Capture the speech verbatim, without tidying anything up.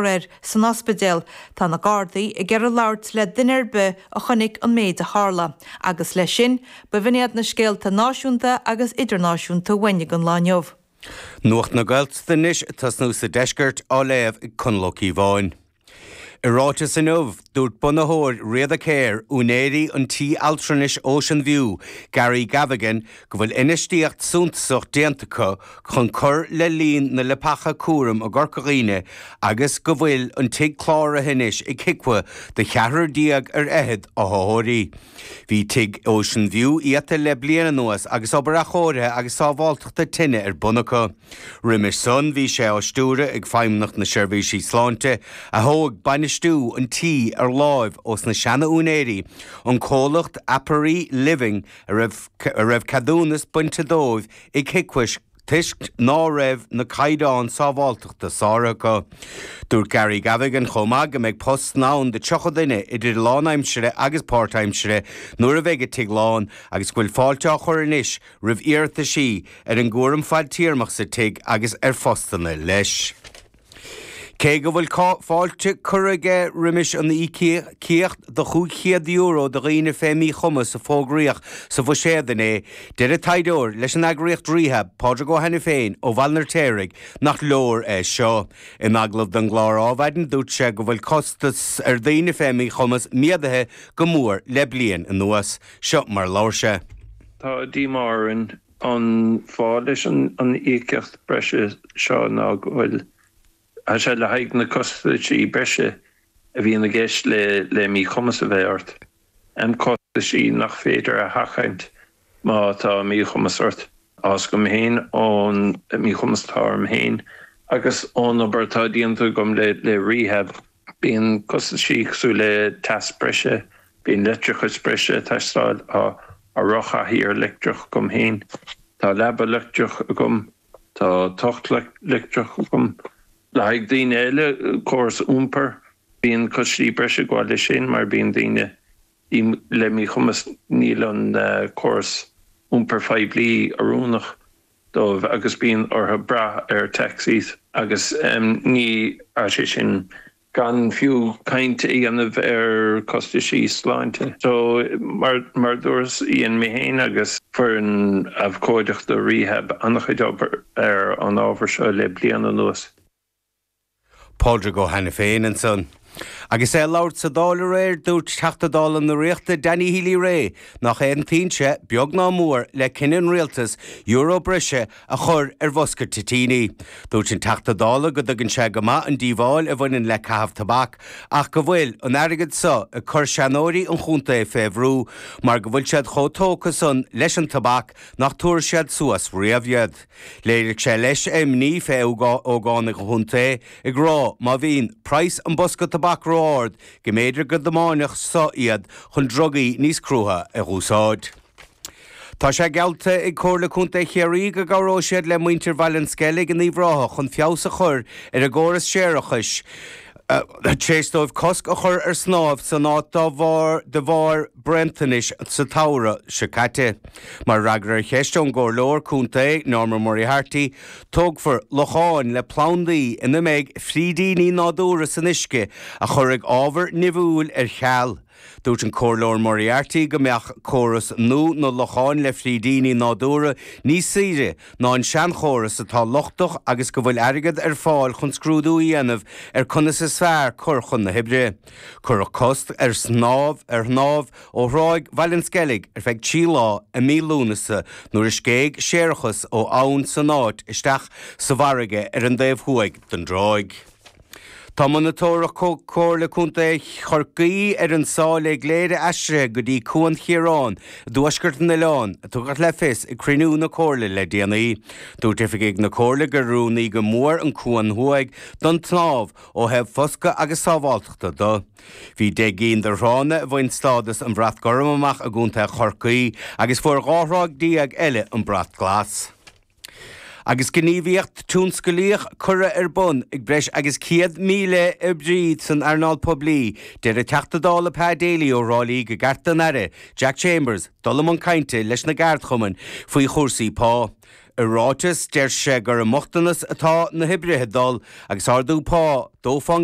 air san ospidéal. Tá na Gardaí ag iarraidh labhairt le duine ar bith a chonaic an méid a tharla, agus leis sin b'in iad na scéalta náisiúnta agus idirnáisiúnta uainn don lá inniu. Nuacht na Gaeltachta anois tosnú sa deisceart á léamh ag Conall Ó Cíobháin. I ráiteas inniu dúirt bunaitheoir Riada Care úinéirí an tí altranais Ocean View, Gary Gavigan, go bhfuil infheistíocht suntasach déanta acu chun cur le líon na leapacha cúraim i gCorca Dhuibhne agus go bhfuil an tigh cláraithe anois ag HIQA do cheathrar déag ar fhichead othair. Bhí tigh Ocean View iata le bliain anuas agus obair athchóirithe agus sábháilteachta tine ar bun acu. Roimhe san bhí sé á stiúradh ag Feidhmeannacht na Seirbhísí Sláinte a thóg bainistiú an tí ar láimh ós na seana-úinéirí, an comhlacht Apari Living a raibh a raibh ceadúnas bainte dóibh ag HIQA toisc ná raibh na caighdeáin sábháilteachta sáraithe acu. Dúirt Gary Gavigan chomh maith go mbeidh post ann do tríocha duine idir lánaimsire agus páirtaimsire nuair a bheidh an tigh lán agus go bhfuil fáilte á chur anois roimh iarrataisí ar an gcúram fadtéarmach sa tigh agus ar phostanna leis. Cé go bhfuil fáilte curtha aige roimis an íocaíocht de chúig chéad euro do dhaoine fé mhíchumas a fógraíodh sa bhuiséad inné, deir taighdeoir leis an eagraíocht Rehab, Pádraig Ó Hainiféin ó Bhaile an Fheirtéaraigh nach leor é seo. In agallamh don gclár Adhmhaidin dúirt sé go bhfuil costas ar daoine fé mhíchumas méadaithe go mór le bliain anuas. Seo mar labhair sé. Tá díomá orainn an fáth leis an an íocaíocht breise seo ná go bhfuil Tá sé le haghaidh na costaisí breise a bhíonn i gceist le le míchumas a bheith ort. An costaisí nach féidir a sheachaint má tá míchumas ort. As go féin ón míchumas atá orm féin agus ón obair atá déanta agam le le rehab bíonn costaisí cosúil le teas breise, bíonn leictreachas breise teastáil á a rothlár leictreach agam féin. Tá leaba leictreach agam, tá tocht leictreach agam. Le haghaidh daoine eile córas iompair bíonn costaisí breise ag gabháil leis sin mar bíonn daoine le míchumas níl an córas iompair phoiblí oiriúnach dóibh agus bíonn orthu brath ar taxis agus ní sé sin gan fiú caint a dhéanamh ar costaisí sláinte. So mar mar dúirt dhein mé féin agus foireann abhcóideachta rehab an-chuid obair ar an ábhar seo le bliain anuas. Pádraig Ó Hainiféin ansan. Agus é ag labhairt sa Dáil aréir dúirt Teachta Dála na Ríochta Danny Healy-Rae nach aontaíonn sé beag ná mór le cinneadh an rialtais euro breise a chur ar bhosca toitíní. Dúirt an Teachta Dála go dtuigeann sé go maith an díobháil a bhaineann le caitheamh tobac ach go bhfuil an airgead seo ag cur seanóirí an chontae fé bhrú mar go bhfuil siad chomh tógtha san leis an tobac nach dtabharfaidh siad suas riamh iad. Léirigh sé leis a imní fé ógánaigh an chontae ag rá má bhíonn praghas an bosca tobac ró-ard go mb'fhéidir go dtiomáinfeadh seo iad chun drugaí níos crua a úsáid. Tá sé geallta ag Comhairle Contae Chiarraí go gcabhróidh siad le muintir Bhaile an Sceilg in Uíbh Ráthach chun feabhas a chur ar a gcóras séarachais tar éis dóibh cosc a chur ar snámh san áit dá bharr de bharr bréantanais sa tsamhradh seo caite. Mar fhreagra ar cheist ón gcomhairleoir contae Norma Moriarty, tógfar locháin le plandaí ina mbeidh frídíní nádúrtha san uisce a chuirfidh ábhar nimhiúil ar ceal. Dúirt an Comhairleoir Moriarty go mbeadh córas nua na locháin le frídíní nádúrtha níos saoire ná an seanchóras atá lochtach agus go bhfuil airgead ar fáil chun scrúdú a dhéanamh ar conas is fearr cur chun na hoibre. Cuireadh cosc ar snámh ar shnámh ó thráigh Bhaile an Sceilg ar feadh trí lá i mí Lúnasa nuair a scéigh séarachas ó abhainn san áit isteach sa bhfarraige ar an dtaobh thuaidh den dtráigh. Tá monatóireacht Chomhairle Contae Chorcaí ar an sáile gléire aistrithe go dtí Cuan Chiaráin i dtuaisceart an oileáin, a tugadh le fios ag cruinniú na Comhairle le déanaí. Dúirt oifigigh na Comhairle gur oiriúnaí go mór an cuan thuaidh don tsnámh ó thaobh foscadh agus sábháilteachta de. Bhí deich gcinn de thránna a bhain stádas an Bhrat Gorm amach i gContae Chorcaí agus fuair dhá thráigh déag eile an Brat Glas. Agus gníomhaíocht tionsclaíoch curtha ar bun ag breis agus céad míle oibrí san earnáil poiblí, deir an Teachta Dála Pa Daly ó Thrá Lí gur cheart don Aire, Jack Chambers, dul i mbun cainte leis na gceardchumainn faoi chúrsaí pá. I ráiteas deir sé gur i mbochtanas atá na hoibrithe dul agus ardú pá dó faoin